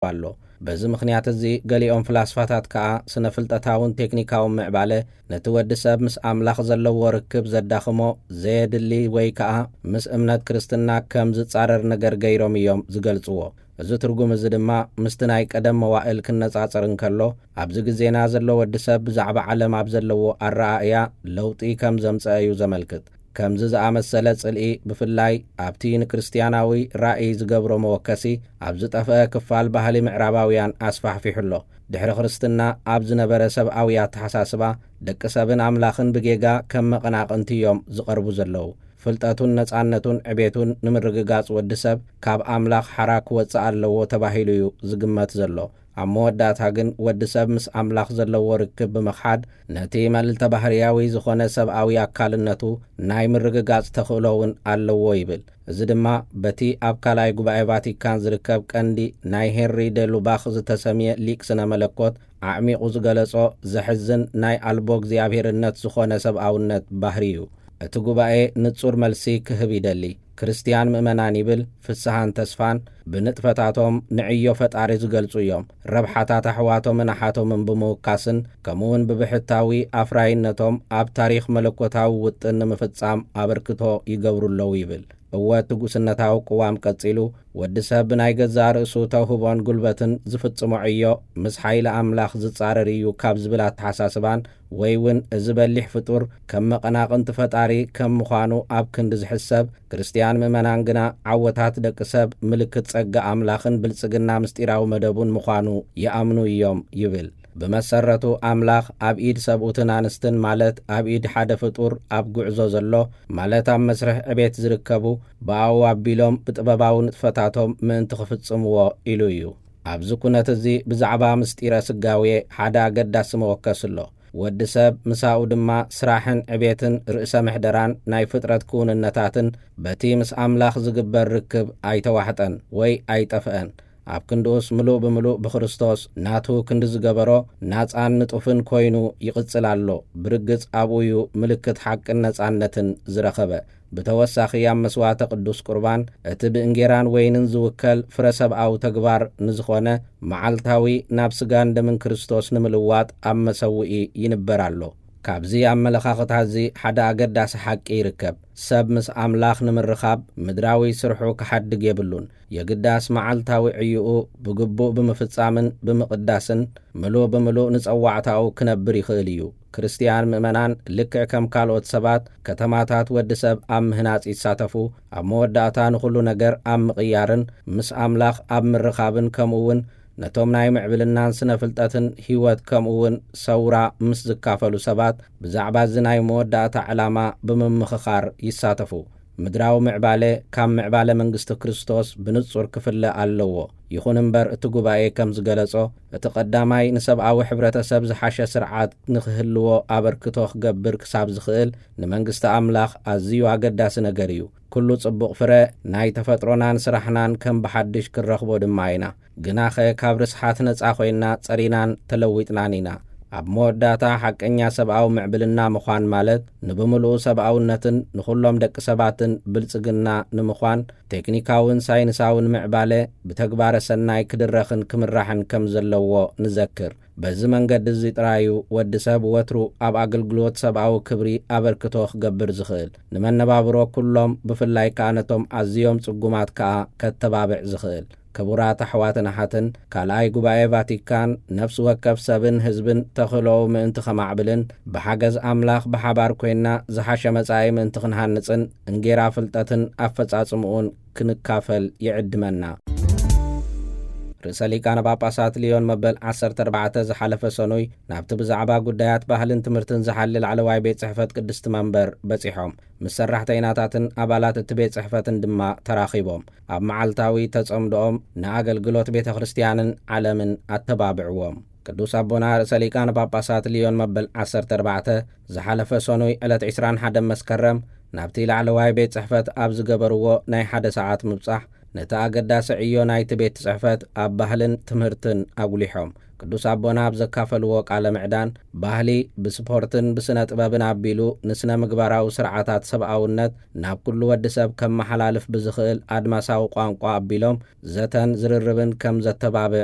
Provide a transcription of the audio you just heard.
ኣሎ። በዚ ምኽንያት እዚ ገሊኦም ፍላስፋታት ከኣ ስነ ፍልጠታውን ቴክኒካውን ምዕባለ ነቲ ወዲ ሰብ ምስ ኣምላኽ ዘለዎ ርክብ ዘዳኽሞ፣ ዘየድሊ ወይ ከኣ ምስ እምነት ክርስትና ከም ዝጻረር ነገር ገይሮም እዮም ዝገልጽዎ። እዚ ትርጉም እዚ ድማ ምስቲ ናይ ቀደም መዋእል ክነጻጸር እንከሎ፣ ኣብዚ ግዜና ዘሎ ወዲ ሰብ ብዛዕባ ዓለም ኣብ ዘለዎ ኣረኣእያ ለውጢ ከም ዘምጽአ እዩ ዘመልክት። ከምዚ ዝኣመሰለ ጽልኢ፣ ብፍላይ ኣብቲ ንክርስትያናዊ ራእይ ዝገብሮ መወከሲ፣ ኣብ ዝጠፍአ ክፋል ባህሊ ምዕራባውያን ኣስፋሕፊሑ ኣሎ። ድሕሪ ክርስትና ኣብ ዝነበረ ሰብኣዊ ኣተሓሳስባ፣ ደቂ ሰብን ኣምላኽን ብጌጋ ከም መቐናቕንቲ እዮም ዝቐርቡ ዘለዉ። ፍልጠቱን ነጻነቱን ዕቤቱን ንምርግጋጽ ወዲ ሰብ ካብ ኣምላኽ ሓራ ክወጽእ ኣለዎ ተባሂሉ እዩ ዝግመት ዘሎ። ኣብ መወዳእታ ግን ወዲ ሰብ ምስ ኣምላኽ ዘለዎ ርክብ ብምኽሓድ ነቲ መልዕልተ ባህርያዊ ዝኾነ ሰብኣዊ ኣካልነቱ ናይ ምርግጋጽ ተኽእሎ እውን ኣለዎ ይብል። እዚ ድማ በቲ ኣብ ካልኣይ ጉባኤ ቫቲካን ዝርከብ ቀንዲ ናይ ሄንሪ ደ ሉባኽ ዝተሰምየ ሊቅ ስነ መለኮት ኣዕሚቑ ዝገለጾ ዘሕዝን ናይ ኣልቦ እግዚኣብሔርነት ዝኾነ ሰብኣውነት ባህሪ እዩ። እቲ ጉባኤ ንጹር መልሲ ክህብ ይደሊ። ክርስትያን ምእመናን ይብል ፍስሃን ተስፋን ብንጥፈታቶም ንዕዮ ፈጣሪ ዝገልጹ እዮም። ረብሓታት ኣሕዋቶምን ኣሓቶምን ብምውካስን ከምኡውን ብብሕታዊ ኣፍራይነቶም ኣብ ታሪኽ መለኮታዊ ውጥን ንምፍጻም ኣበርክቶ ይገብሩ ኣለዉ ይብል። እወ፣ እቲ ጉስነታዊ ቅዋም ቀጺሉ፣ ወዲ ሰብ ብናይ ገዛእ ርእሱ ተውህቦን ጉልበትን ዝፍጽሞ ዕዮ ምስ ሓይሊ ኣምላኽ ዝጻረር እዩ ካብ ዝብል ኣተሓሳስባን፣ ወይ እውን እዚ በሊሕ ፍጡር ከም መቐናቕንቲ ፈጣሪ ከም ምዃኑ ኣብ ክንዲ ዝሕሰብ፣ ክርስትያን ምእመናን ግና ዓወታት ደቂ ሰብ ምልክት ጸጋ ኣምላኽን ብልጽግና ምስጢራዊ መደቡን ምዃኑ ይኣምኑ እዮም ይብል። ብመሰረቱ ኣምላኽ ኣብ ኢድ ሰብኡትን ኣንስትን፣ ማለት ኣብ ኢድ ሓደ ፍጡር ኣብ ጉዕዞ ዘሎ፣ ማለት ኣብ መስርሕ ዕቤት ዝርከቡ፣ ብኣኡ ኣቢሎም ብጥበባዊ ንጥፈታቶም ምእንቲ ክፍጽምዎ ኢሉ እዩ። ኣብዚ ኩነት እዚ ብዛዕባ ምስጢረ ስጋዌ ሓደ ኣገዳሲ መወከሲ ኣሎ። ወዲ ሰብ ምሳኡ ድማ ስራሕን ዕቤትን ርእሰ ምሕደራን ናይ ፍጥረት ክውንነታትን በቲ ምስ ኣምላኽ ዝግበር ርክብ ኣይተዋሕጠን ወይ ኣይጠፍአን። ኣብ ክንድኡስ ምሉእ ብምሉእ ብክርስቶስ ናቱ ክንዲ ዝገበሮ ናጻን ንጡፍን ኮይኑ ይቕጽል ኣሎ። ብርግጽ ኣብኡ እዩ ምልክት ሓቅን ነጻነትን ዝረኸበ። ብተወሳኺ ኣብ መስዋዕተ ቅዱስ ቁርባን እቲ ብእንጌራን ወይንን ዝውከል ፍረ ሰብኣዊ ተግባር ንዝኾነ መዓልታዊ ናብ ስጋን ደምን ክርስቶስ ንምልዋጥ ኣብ መሰውኢ ይንበር ኣሎ። ካብዚ ኣመለኻኽታ እዚ ሓደ ኣገዳሲ ሓቂ ይርከብ። ሰብ ምስ ኣምላኽ ንምርኻብ ምድራዊ ስርሑ ክሓድግ የብሉን። የግዳስ መዓልታዊ ዕዩኡ ብግቡእ ብምፍጻምን ብምቕዳስን ምሉእ ብምሉእ ንጸዋዕታኡ ክነብር ይኽእል እዩ። ክርስትያን ምእመናን ልክዕ ከም ካልኦት ሰባት ከተማታት ወዲ ሰብ ኣብ ምህናጽ ይሳተፉ፣ ኣብ መወዳእታ ንኹሉ ነገር ኣብ ምቕያርን ምስ ኣምላኽ ኣብ ምርኻብን ከምኡ እውን ነቶም ናይ ምዕብልናን ስነ ፍልጠትን ህይወት ከምኡ እውን ሰውራ ምስ ዝካፈሉ ሰባት ብዛዕባ እዚ ናይ መወዳእታ ዕላማ ብምምኽኻር ይሳተፉ። ምድራዊ ምዕባለ ካብ ምዕባለ መንግስቲ ክርስቶስ ብንጹር ክፍለ ኣለዎ። ይኹን እምበር እቲ ጉባኤ ከም ዝገለጾ፣ እቲ ቀዳማይ ንሰብኣዊ ሕብረተሰብ ዝሓሸ ስርዓት ንክህልዎ ኣበርክቶ ክገብር ክሳብ ዝኽእል ንመንግስቲ ኣምላኽ ኣዝዩ ኣገዳሲ ነገር እዩ። ኩሉ ጽቡቕ ፍረ ናይ ተፈጥሮናን ስራሕናን ከም ብሓድሽ ክንረኽቦ ድማ ኢና። ግናኸ ካብ ርስሓት ነጻ ኮይና ጸሪናን ተለዊጥናን ኢና። ኣብ መወዳእታ ሓቀኛ ሰብኣዊ ምዕብልና ምዃን ማለት ንብምሉኡ ሰብኣውነትን ንኹሎም ደቂ ሰባትን ብልጽግና ንምዃን ቴክኒካውን ሳይንሳውን ምዕባለ ብተግባረ ሰናይ ክድረኽን ክምራሕን ከም ዘለዎ ንዘክር። በዚ መንገዲ እዚ ጥራዩ ወዲ ሰብ ወትሩ ኣብ ኣገልግሎት ሰብኣዊ ክብሪ ኣበርክቶ ክገብር ዝኽእል፣ ንመነባብሮ ኩሎም ብፍላይ ከኣ ነቶም ኣዝዮም ጽጉማት ከኣ ከተባብዕ ዝኽእል። ክቡራት ኣሕዋትን ኣሓትን፣ ካልኣይ ጉባኤ ቫቲካን ነፍሲ ወከፍ ሰብን ህዝብን ተኽእሎኡ ምእንቲ ኸማዕብልን ብሓገዝ ኣምላኽ ብሓባር ኮይንና ዝሓሸ መጻኢ ምእንቲ ክንሃንጽን እንጌራ ፍልጠትን ኣፈጻጽምኡን ክንካፈል ይዕድመና። ርእሰ ሊቃነ ጳጳሳት ሊዮን መበል ዓሰርተ ኣርባዕተ ዝሓለፈ ሰኑይ ናብቲ ብዛዕባ ጉዳያት ባህልን ትምህርትን ዝሓሊ ላዕለዋይ ቤት ጽሕፈት ቅድስቲ መንበር በጺሖም፣ ምስ ሰራሕተይናታትን ኣባላት እቲ ቤት ጽሕፈትን ድማ ተራኺቦም፣ ኣብ መዓልታዊ ተጸምዶኦም ንኣገልግሎት ቤተ ክርስትያንን ዓለምን ኣተባብዕዎም። ቅዱስ ኣቦና ርእሰ ሊቃነ ጳጳሳት ሊዮን መበል ዓሰርተ ኣርባዕተ ዝሓለፈ ሰኑይ ዕለት ዕስራን ሓደን መስከረም ናብቲ ላዕለዋይ ቤት ጽሕፈት ኣብ ዝገበርዎ ናይ ሓደ ሰዓት ምብጻሕ፣ ነቲ ኣገዳሲ ዕዮ ናይቲ ቤት ጽሕፈት ኣብ ባህልን ትምህርትን ኣጉሊሖም። ቅዱስ ኣቦና ኣብ ዘካፈልዎ ቃለ ምዕዳን፣ ባህሊ ብስፖርትን ብስነ ጥበብን ኣቢሉ ንስነ ምግባራዊ ስርዓታት ሰብኣውነት ናብ ኩሉ ወዲ ሰብ ከመሓላልፍ ብዝኽእል ኣድማሳዊ ቋንቋ ኣቢሎም ዘተን ዝርርብን ከም ዘተባብዕ